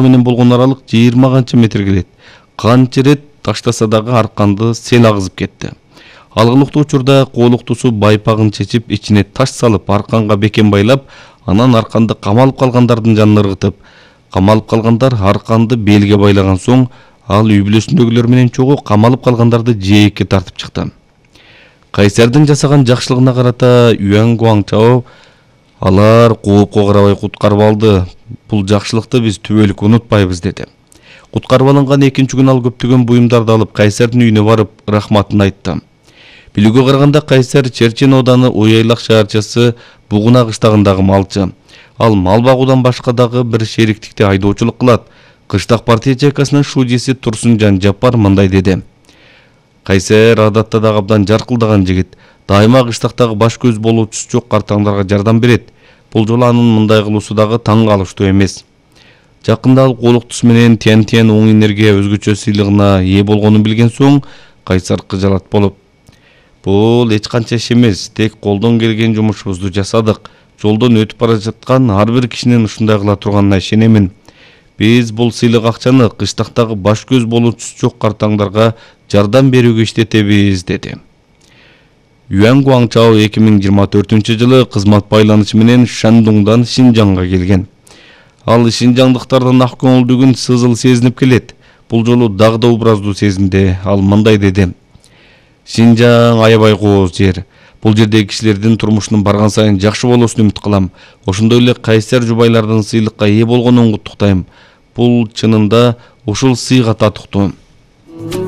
менен болгон аралык 20 канча метр келет. Канча рет таштаса дагы арканды сел агызып кетти. Алгылыктуу учурда коолуктусу байпагын чечип, ичине таш салып, арканга бекен байлап, анан арканды камалып калгандардын жанына ыргытып, камалып калгандар арканды белге байлаган соң, ал үй бүлөсүндөгүлөр менен чогуу камалып калгандарды жээкке тартып чыкты. Кайсардын жасаган жакшылыгына карата Юан Гуаңчао алар коопко карабай куткарып алды. Бул жакшылыкты биз түбөлүк унутпайбыз деди. Куткарып алынган экинчи күн ал көптөгөн буюмдарды алып Кайсардын үйүнө барып рахматын айтты. Билүүгө караганда Кайсар Черчен ооданы Уяйлак шаарчасы Бугуна кыштагындагы малчы. Ал мал багуудан башка дагы бир шериктикте айдоочулук кылат. Кыштак партия чайкасынын шуудиси Турсунжан Жапар мындай деди. Кайсар адатта да абдан жаркылдаган жигит. Дайыма кыштактагы баш көз болуучусу жок картаңдарга жардам берет. Бул жолу анын мындай кылуусу дагы таң калыштуу эмес. Жакында ал коолуктусу менен Тянтен оң энергия өзгөчө сыйлыгына ээ болгонун билген соң, Кайсар кыжалат болуп: "Бул эч канча иш эмес, тек колдон келген жумушубузду жасадык. Жолдон өтүп бара жаткан ар бир кишинин ушундай кыла турганына ишенемин. Биз бул сыйлык акчаны кыштактагы баш көз болуучусу жок картаңдарга жардам берүүгө иштетебиз" деди. Юан Гуаңчао 2024-жылы кызмат байланышы менен Шандуңдан Шинжаңга келген. Ал шинжаңдыктардын ак көңүлдүгүн сызыл сезинип келет. Бул жолу дагы да образдуу сезинди. Ал мындай деди: "Шинжаң аябай кооз жер. Бул жердеги кишилердин турмушунун барган сайын жакшы болуусун үмүт кылам. Ошондой эле Кайсар жубайлардын сыйлыкка ээ болгонун куттуктайм. Бул чынында ушул сыйга татыктуу.